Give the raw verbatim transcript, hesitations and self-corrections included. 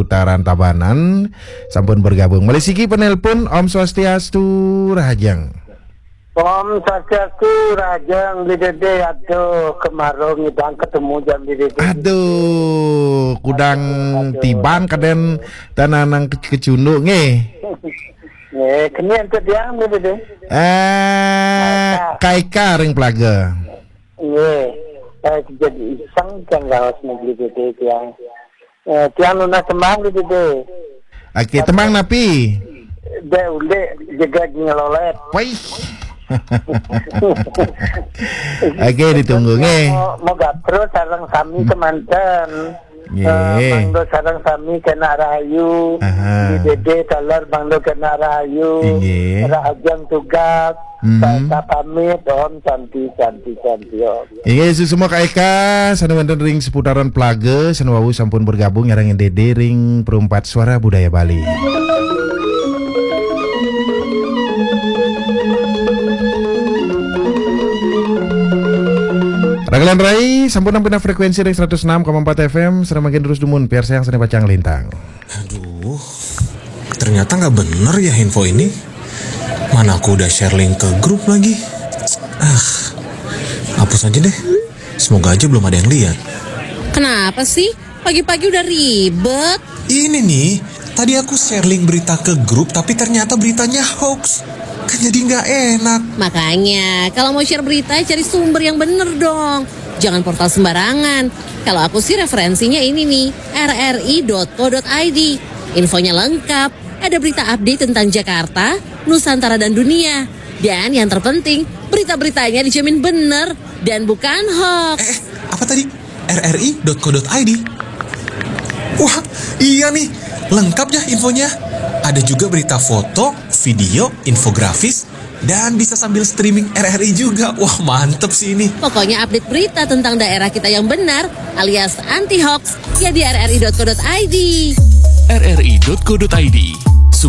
seputaran Tabanan sampun bergabung. Malih siki penelpon, Om Swastiastu, Rahajeng. Om Swastiastu, Rahajeng, Beli Dede, aduh, kemaro ngidang ketemu jam Beli Dede. Aduh, kudang aduh, aduh, tiban aduh. Kaden tananang ke-, kecunduk nggih. Nggih, keni enten tiang, Beli Dede. Eh, Kaika. Kaika ring Pelaga. Nggih. Eh, jadi iseng kan raos Beli Dede tiang. Eh, tiang nunas tembang di dede. Oke, tembang napi? Dek ulik jegeg ngelolet. Wih. Oke, ditunggu nggih. Mau, mau gapro sareng sami kemanten. Nggih. Eh, mangda sareng sami kena rahayu. Aha. Di dede taler mangda kena rahayu. Nggih. Rahajeng tugas. Mhm. Saya pamit, Om, santi, santi, santi, Om. Inggih, suksma Kak Eka, sane wenten ring seputaran Pelaga, sane wau sampun bergabung sareng Dede ring Perempat Suara Budaya Bali. Ragalan Rai, sampun nampi frekuensi ring seratus enam koma empat F M, sareng mangkin terus dumun, piarsayang sane pacang lintang. Aduh, ternyata nggak bener ya info ini. Mana aku udah share link ke grup lagi. Ah, hapus aja deh. Semoga aja belum ada yang lihat. Kenapa sih? Pagi-pagi udah ribet. Ini nih, tadi aku share link berita ke grup, tapi ternyata beritanya hoax. Kan jadi nggak enak. Makanya, kalau mau share berita, cari sumber yang bener dong. Jangan portal sembarangan. Kalau aku sih referensinya ini nih, R R I dot co dot I D. Infonya lengkap, ada berita update tentang Jakarta, Nusantara dan dunia. Dan yang terpenting, berita-beritanya dijamin bener dan bukan hoax. Eh, eh, apa tadi? R R I dot co dot I D. Wah, iya nih, lengkap ya infonya. Ada juga berita foto, video, infografis, dan bisa sambil streaming R R I juga. Wah, mantep sih ini. Pokoknya update berita tentang daerah kita yang benar alias anti hoax ya di R R I dot co dot I D. R R I dot co dot I D,